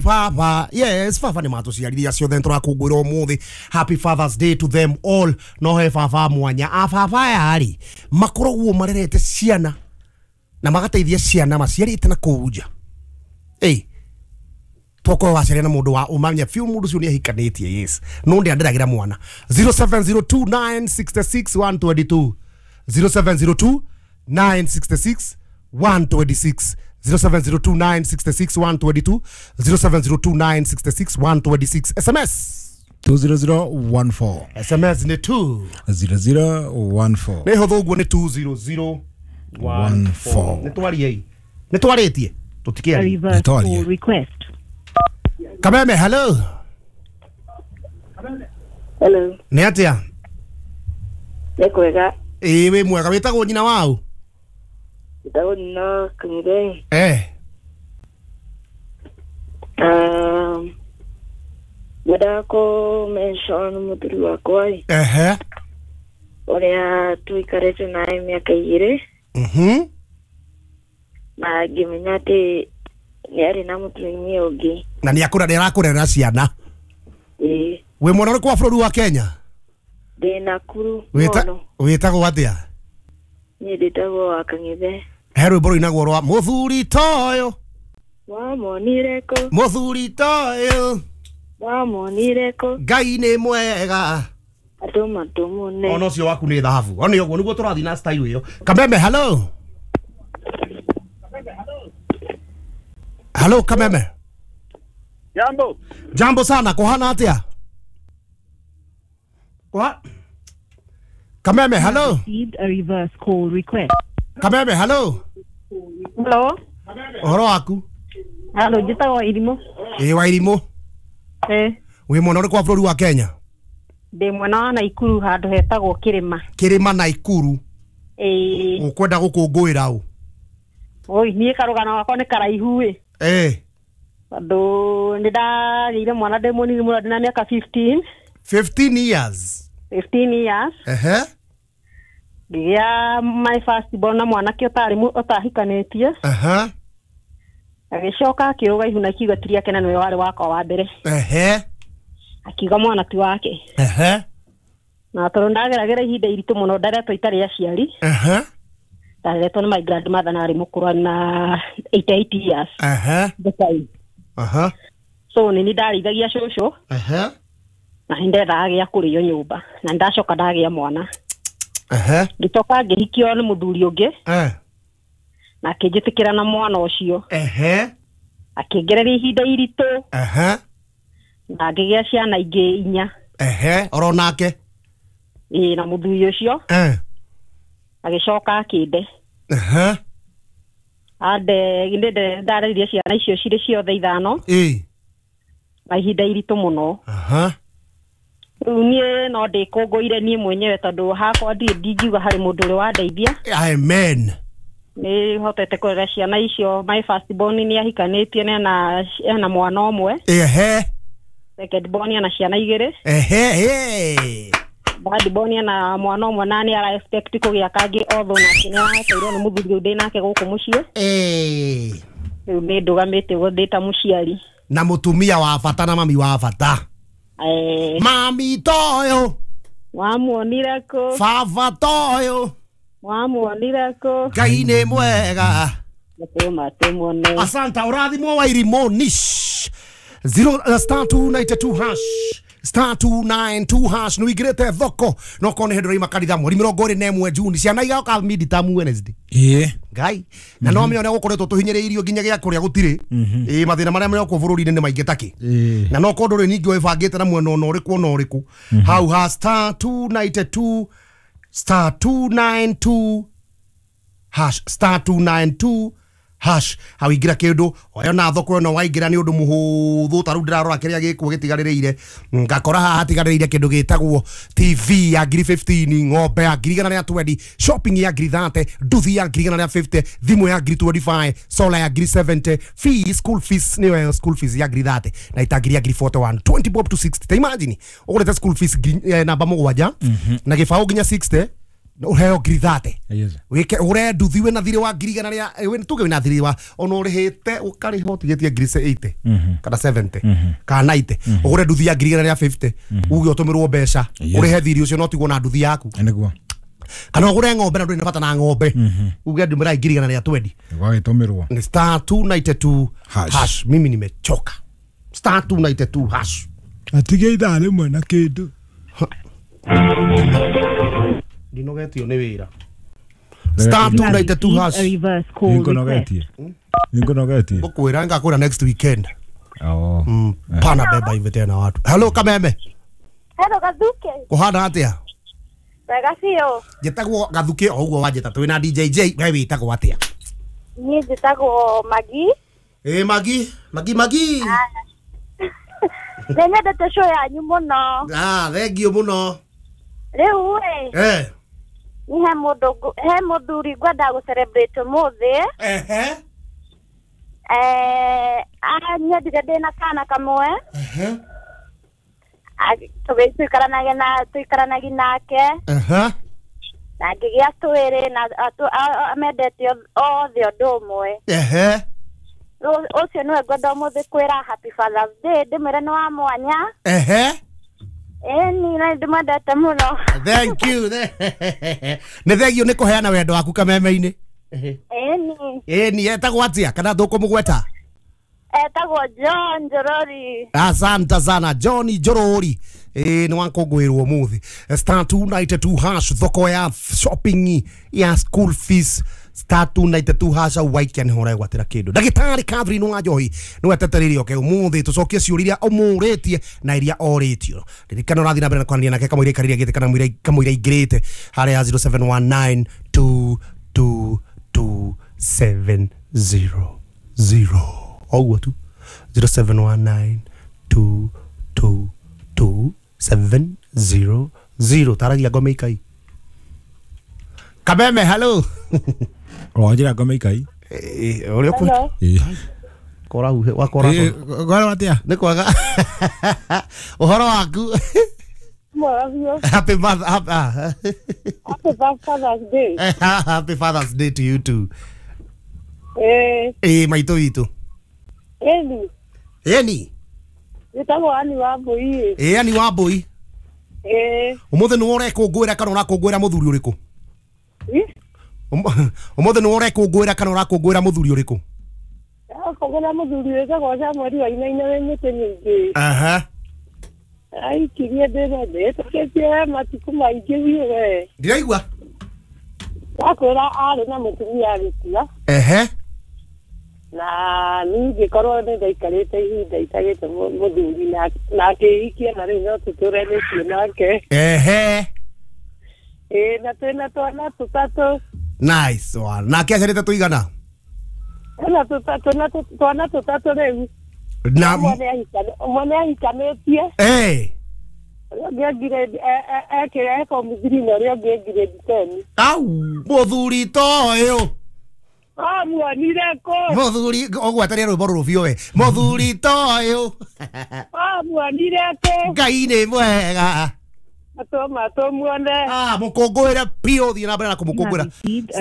Baba, yes, baba nĩ matũciarire acio othe tũrakũngũĩra ũmũthĩ. Happy Father's Day to them all. No he baba mwanya. A baba aya rĩ, makoragwo marerete ciana na magateithia ciana maciarĩte na kũu nja. Ĩ, tokorwo waciaria na mũndũ wa ũmanya biũ mũndũ ũcio nĩ ahikanĩtie, yes, no ndĩ anderagĩra mwana. 0702966122, 0702 966 126, 0702966122, 0702966126. SMS 20014. SMS nĩ 2 0014. Nĩ hũthũ ũguo, nĩ 20014. Nĩ twariei, nĩ twarĩtie, tũtikĩaria. Reverse Nĩtwarie. call request. Kameme, hello. Hello, Nĩ atĩa? Nĩ kwega. Ĩĩ, wĩ mwega. Wĩtagwo nyina wau? Njĩtagwo Nina Kanyire. Eh. Ngwendaga kũ mention mũthuri wakwa ĩ, Ehe. ũrĩa tũikarĩte naye mĩaka 2 na ngĩmenya atĩ nĩ arĩ na mũtumia ũngĩ. Na nĩ akũra, nĩ arakũrera ciana? Ĩĩ. Wĩ mwena ũrĩkũ wa bũrũri wa Kenya? Ndĩ Nakuru. Wĩta Mũno. Wĩtagwo atĩa? Niĩ ndĩtagwo wa Kang'ethe. He rwĩmbo rũinagwo rwa mũthuri toyũ. Wamonire kũ? Mũthuri toyũ. Wamonire kũ? Ngai nĩ mwega. Andũ matũmũne. Ona ũcio waku nĩ thahabu, ona ũguo nĩguo tũrathiĩ na style ĩyo. Kameme, hello, hello, Kameme. Jambo. Jambo sana. Kũhana atĩa? Kũha Kameme, hello. Received a reverse call request. Kameme, hello. Hello. Ũhoro waku? Hello, njĩtagwo Irimũ. Ĩ, wa Irimũ. Eh, Wĩ mwena ũrĩkũ wa bũrũri wa Kenya? Ndĩ mwena wa Naikuru handũ hetagwo Kĩrĩma. Kĩrĩma, Naikuru. Ĩĩ. Ũkwenda gũkũngũĩra ũ? Oi, niĩ karũgano gakwa nĩ karaihu ĩ. Eh. Tondũ nĩ ndagĩire mwana ndĩ mũnini mũno, ndĩ na mĩaka 15. 15 years? 15 years. Ehe. Ngĩgĩa my first born na mwanake ũtarĩ ũtahikanĩtie. Ehe. Agĩcoka akĩrũga ihu na akiuga ti rĩake na nĩwe warĩ wakwa wa mbere. Ehe. Akiuga mwana ti wake. Ehe. Na tondũ ndageragĩra ihinda iritũ mũno, ndaretwo itarĩ aciari. Ehe. Ndareretwo nĩ my grandmother na arĩ mũkũrũ na 88 years Ehe. the time. Aha. So nĩ niĩ ndarĩithagia cũcũ Ehe. na nĩ ndethaga gĩa kũrĩo nyũmba na nĩ ndacoka ndagĩa mwana. Ehe. Ngĩcoka ngĩhikio nĩ mũthuri ũngĩ Eh. na akĩnjĩtĩkĩra na mwana ũcio. Ehe. Akĩngereria ihinda iritũ Ehe. na ngĩgĩa ciana ingĩ inya. Ehe, oro nake? Ĩĩ, na mũthuri ũcio. Eh. Agĩcoka akĩnde. Ehe. Ande nĩ ndareririe ciana icio cirĩ ciothe ithano Ĩ. na ihinda iritũ mũno. Aha. Rĩu niĩ no ndĩkũngũire niĩ mwenyewe tondũ hakwa ndirĩ ndingiuga harĩ mũndũ ũrĩ wandeithia. Amen. Nĩ hotete kũrera ciana icio. My first born nĩ ahikanĩtie na ena mwana ũmwe. Ehe. Second born ena ciana igĩrĩ. Ehe, eh. Third born ena mwana ũmwe na nĩ ara expect kũgĩa kangĩ, although nake nĩ arateirwo nĩ mũthuri ũyũ ndĩ nake gũkũ mũciĩ. Eh. Rĩu nĩ ndũgamĩte ũguo ndĩ ta mũciari. Na mũtumia wa bata na mami wa bata. Eh. Mami toyo. Wamuonire kũ? Baba toyo. Wamuonire kũ? Ngai nĩ mwega. Matũma tũmuone. Asanta, ũrathimwo wa Irimũ nish. 0 star 292 hash, star 292 hash, nĩ wĩingĩrĩte thoko no korwo nĩ hĩndĩ ũraima kanitha mweri 21 Juni, ciana igoka midterm Wednesday. Ĩĩ. Ngai na no menya ũrĩa gũkoretwo tũhinyĩrĩirio nginya gĩa kũrĩa gũtirĩ. Ĩĩ, mathĩna marĩa marĩ kuo bũrũri-inĩ nĩ maingĩ takĩ. Ĩĩ. Na no korwo ndũrĩ ningĩ wĩbangĩte na mwena ona ũrĩkũ ona ũrĩkũ hau ha star 292, star 292 hash, star 292 hash, hau ingĩra kĩndũ oyo na thoko ĩno waingĩra nĩ ũndũ mũhũthũ. Ta rĩu ndĩrarora kĩrĩa gĩkuo gĩtigarĩrĩire, ngakora haha hatigarĩrĩire kĩndũ gĩtagwo TV ya ngiri 15, ng'ombe ya ngiri igana rĩa 20, shopping ya ngiri 30, nduthi ya ngiri igana rĩa 50, thimũ ya ngiri 25, solar ya ngiri 70, fee school fees nĩyo ĩyo, school fees ya ngiri 30 na itangiri ya ngiri 41, 20 bob to 60. Ta imagine ũgũrĩte school fees ngiri, namba 7 na gĩbaũ nginya 60. Ũheo ngiri 30. Yes. Wike ure nduthi wina thiri wa ngiri igana ria tuge wina thiri wa ona urihite ukariha utigitie ngiri 80 kana 70 kana 90 ugure nduthi ya ngiri igana ria 50 uge utumirwo mbeca urihe thiri ucio no tigwo na nduthi yaku. Niguo. Kana ugure ng'ombe na nduri na bata na ng'ombe uge ndumira ngiri igana ria 20 Gwagĩtũmĩrwo. ni star 292 hash. Mimi nimechoka. Star 292 hash. Atige ithaa rĩmwe na kĩndũ. Ndinogetio nĩ wĩra. Star 292 hash. A reverse call request. Nĩngũnogetie. Nĩngũnogetie. Ngũkwĩra ngakwĩra next weekend. Oh. Pana beba hivi tena watu. Hello Kameme. Hello Gathuke. Kuhana atia? Wega biũ. Njĩtagwo Gathuke o ũguo wanjĩta twĩ na DJJ we wĩtagwo atĩa? Niĩ njĩtagwo Magi. Ĩ Magi, Magi Magi. Nĩ nyendete show yanyu mũno. Ah, thank you mũno. Rĩu ĩ. Eh. Ni he mũndũ he mũthuri ngwenda gũ celebrate ũmũthĩ. Ehe. Eh, anyendire ndĩna kana kamwe. Ehe. Tuikaranagia nake. Ehe. Na ngĩgĩa twĩrĩ na amendete othe ũndũ ũmwe. Ehe. Ũcio nĩwe ngwenda ũmũthĩ kwĩra happy Father's Day ndĩmwĩre nĩ wa mwanya. Ehe. Ĩni na ndĩmwendete mũno. Thank you. Nĩ thengio nĩ kũheana wendo waku kameme-inĩ. Ĩni. Ĩni etagwo atĩa kana ndũkũmũgweta? Etagwo John Njorori. Asante sana John Njorori. Nĩ wakũngũĩrwo ũmũthĩ. Star 292 hash thoko ya shopping ya school fees. Star 292 hash au waikia nĩho ũregwatĩra kĩndũ. Ndagĩtarĩ Catherine wa Njohi nĩwe etetereire oke ũmũthĩ tũcokie ciũria iria ũmũrĩtie na iria orĩtio. Ririkana ũrathiĩ na mbere na kwaranĩria nake kamũira aikarĩire gĩtĩ kana kamũira aingĩrĩte harĩa 0719 222 700. Oguo tu 0719 222 700. Taragia ngome ikai. Kameme, hello. Wanjĩra ngome ikai. Ũrĩa ũkũ kora uhe wakora. Gwara atia? Nĩ kwaga. Ũhoro waku? Happy mother, Happy Father's Day. Happy Father's Day to you too. Eh. Eh, maitũ witũ. Eni. Eni. Njĩtagwo Ani wa Mbũi. Ĩ Ani wa Mbũi. Eh. Ũmũthĩ nĩwe ũrekũngũĩra kana ũrakũngũĩra mũthuri ũrĩkũ? Ũmũthĩ nĩwe ũrekũngũĩra kana ũrakũngũĩra mũthuri ũrĩkũ? Ndĩrakũngũĩra mũthuri wĩtagwo Samuel Wainaina wĩ mĩtĩ mĩingĩ. Aha. Aikirie ndĩna ndĩtũkĩtie matukũ maingĩ biũ we. Ndiraigua. Ndakwĩra arĩ na mũtumia agĩkua. Ehe. Na niĩ ngĩkorwo nĩ ndaikarĩte ihinda itagĩte mũthuri na akĩhikia na rĩu no tũtũranĩtie nake. Ehe. Ĩ na twĩna twana tũtatũ. Nice one. Nake aciarĩte tũigana? Twĩna twana tũtatũ rĩu. Na ũmwe nĩ ahikanĩtie. Eh. Ũrĩa ũngĩ ekĩra form 3 na ũrĩa ũngĩ grade 10. Au, mũthuri toyũ. Amuonire kũ? Mũthuri ũgwetaria rwĩmbo rũrũ biũ we. Mũthuri toyũ. Amuonire kũ? Ngai nĩ mwega. Atũma tũmuone. Ah, mũkũngũĩre biũ thiĩ na mbere na kũmũkũngũĩra.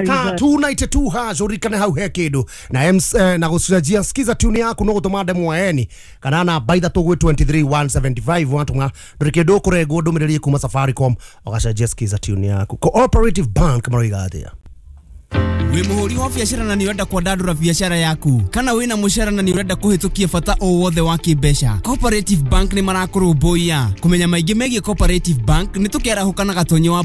Star 292 hash ũririkane hau he kĩndũ na na gũcenjia skiza tune yaku no gũtũma ndemwa eni kana namba ithatũ gwĩ 23175 watũma ndũrĩ kĩndũ ũkũrengwo ndũmĩrĩri kuma Safaricom ũgacenjia skiza tune yaku. Cooperative Bank maroiga atĩa? Wĩ mũhũri wa biacara na nĩ ũrenda kwandandũra biacara yaku kana wĩna mũcara na nĩ ũrenda kũhĩtũkia bata o wothe wa kĩmbeca, Cooperative Bank nĩ marakũrũmbũiya. Kũmenya maingĩ megiĩ Cooperative Bank nĩ tũkĩarahũka na Gatonyo wa